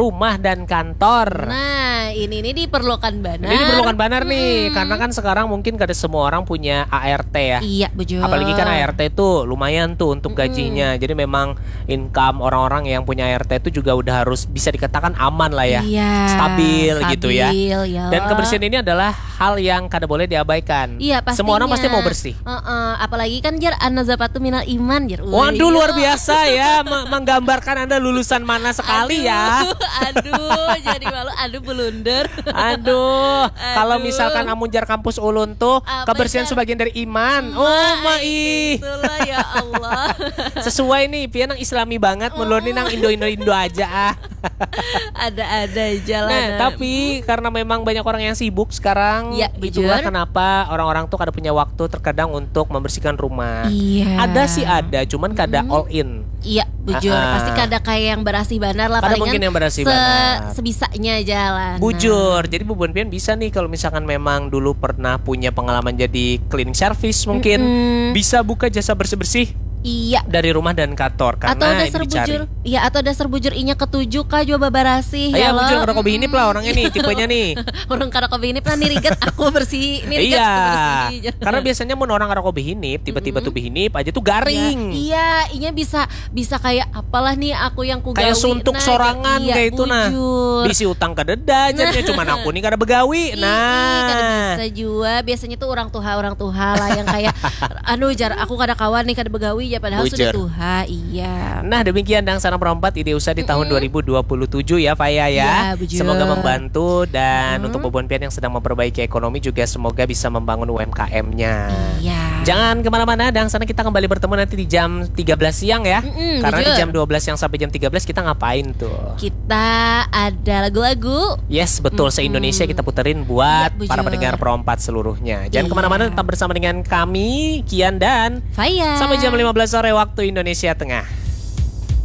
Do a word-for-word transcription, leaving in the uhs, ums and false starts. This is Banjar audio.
rumah dan kantor. Nah, ini ini diperlukan banget. Ini diperlukan banget nih, karena kan sekarang mungkin kada semua orang punya A R T ya. Iya, bujur. Apalagi kan A R T tuh lumayan tuh untuk gajinya. Jadi memang income orang-orang yang punya A R T itu juga udah harus bisa dikatakan aman lah ya. Iya, Stabil gitu ya. Stabil, ya. Dan kebersihan ini adalah hal yang kada boleh diabaikan. Iya, pastinya. Semua orang pasti mau bersih. Heeh, apalagi kan jar, an-nazafatu minal iman, jar. Wih, Waduh, iya. Luar biasa ya, me- menggambarkan Anda lulusan mana sekali ya. Aduh, jadi malu. Aduh, blunder. Aduh, kalau Aduh. Misalkan amun jar kampus ulun tuh Apa, kebersihan jar? Sebagian dari iman. Oh, mai. Itulah, ya Allah. Sesuai nih, pian nang Islami banget, mun ulun nih nang Indo-Indo Indo aja ah. Ada-ada aja lah. Nah, Nah. Tapi karena memang banyak orang yang sibuk sekarang, Ya, itulah bujur. Kenapa orang-orang tuh kada punya waktu terkadang untuk membersihkan rumah. Iya. Ada sih ada, cuman kada all in. Iya, bujur. Ah, ah. Pasti kada kayak yang berasih banar lah. Kada Palingan mungkin yang berasih se- banar. Sebisanya aja lah. Nah. Bujur. Jadi bubuhan pian bisa nih kalau misalkan memang dulu pernah punya pengalaman jadi cleaning service mungkin, Mm-mm. bisa buka jasa bersih-bersih Iya. Dari rumah dan kantor karena Atau dasar dicari. Bujur. Iya, atau dasar bujur inya ketujuh kah jua babarasih. Ya, Ya, lo. Bujur kada kopi hinip lah orangnya nih, tipenya nih. Orang kada kopi hinip lah nih, rigat aku bersih. Ini rigat Iya. aku bersih. Karena biasanya mun orang kada kopi hinip, tiba-tiba tuh hinip aja tuh garing. Iya, inya bisa bisa kayak apalah nih aku yang ku Kayak gawi, suntuk nah, sorangan iya, kayak itu nah. Bujur. Bisi utang kada ada, jadinya cuman aku nih kada begawi. Ih, Nah. Kada bisa jua. Biasanya tuh orang tuha orang tuha lah yang kayak aduh jar aku kada kawan nih, kada begawi ya, padahal Bujur. Sudah tuha. Iya. Nah, demikian Dangsanak Perompat Idea Usaha di tahun dua ribu dua puluh tujuh ya, Faya ya. Ya, bujur. Semoga membantu dan untuk bubuhan pian yang sedang memperbaiki ekonomi juga semoga bisa membangun U M K M-nya. Iya. Jangan kemana-mana, Dangsanak, kita kembali bertemu nanti di jam tiga belas siang ya. Mm-mm, Karena di bujur. Jam dua belas siang sampai jam tiga belas kita ngapain tuh? Kita ada lagu-lagu. Yes, betul. Se-Indonesia kita puterin buat Ya, bujur. Para pendengar Perompat seluruhnya. Jangan Iya. Kemana-mana, tetap bersama dengan kami, Kian dan Faya. Sampai jam lima belas sore waktu Indonesia Tengah.